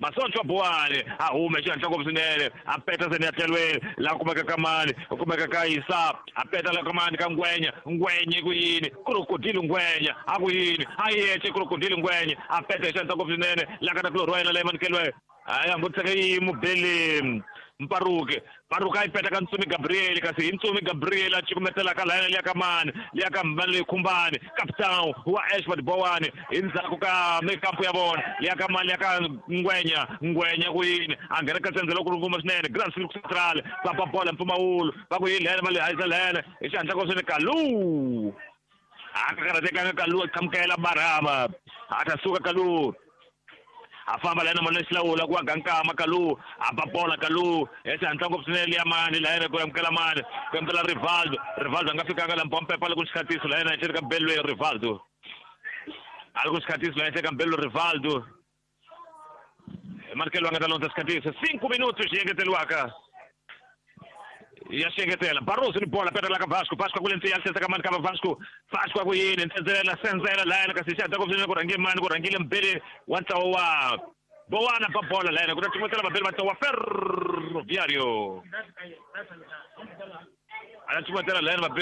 Masoncho Buwani a hume xihatla ngopfu swinene a peta seni ya tlhelweni laha kumeka ka mani u kumeka ka Isa a peta la ka mani ka Ngwenya Ngwenya ku yini Crocodile Ngwenya a ku yini a yexe Crocodile Ngwenya a peta hi xihatla ngopfu swinene laha ka ta kulorhi wa yena leyi manikeliwe a ya nguteka yi mubeli Mparuke Mparuke a yi peta ka Ntsumi Gabriel kasi hi Ntsumi Gabriel a cukumetela ka layena liya ka mani liya ka mani leyi khumbani captain wa Ashford Bowani hi ndzhaku ka mikampu ya vona liya ka mani liya ka Ngwenya Ngwenya ku yini a nghena ka tsendze loko nguma swinene Grand Silk Central va ba bola mpfumawulo va ku yini lena va le hayisa lena hi xihatla ko swinene Kalu a ka karhatekanga Kalu a qhamukela Barhama a ta suka Kalu a famba la yena mani xilawula ku aga nkama Kalu a ba bola Kalu hi xihatla ngopfu swinene liya mani la yena ku amukela mani ku amukela Rivaldo Rivaldo a nga fikanga la mpompepa loko xikhatiso la yena ehenhleni ka Belwe Rivaldo a ri ku xikhatiso la henhla ka Belwe Rivaldo Markelo a nga ta londza xikhatiso 5 minutos xi engeteriwaka ya xengetela Barroso ni bola peta la ka Vasco Vasco kule ntsiya tlhesa ka mani ka Vasco Vasco ku yini ntsenzela senzela la yena kasi xihatla ngopfu swinene ku rhange mani ku rhangile mbele wa ntlawa wa Bowana ba bola la yena ku ta cukumetela vabeli va ntlawa wa Ferroviario a ta cukumetela la yena vabeli.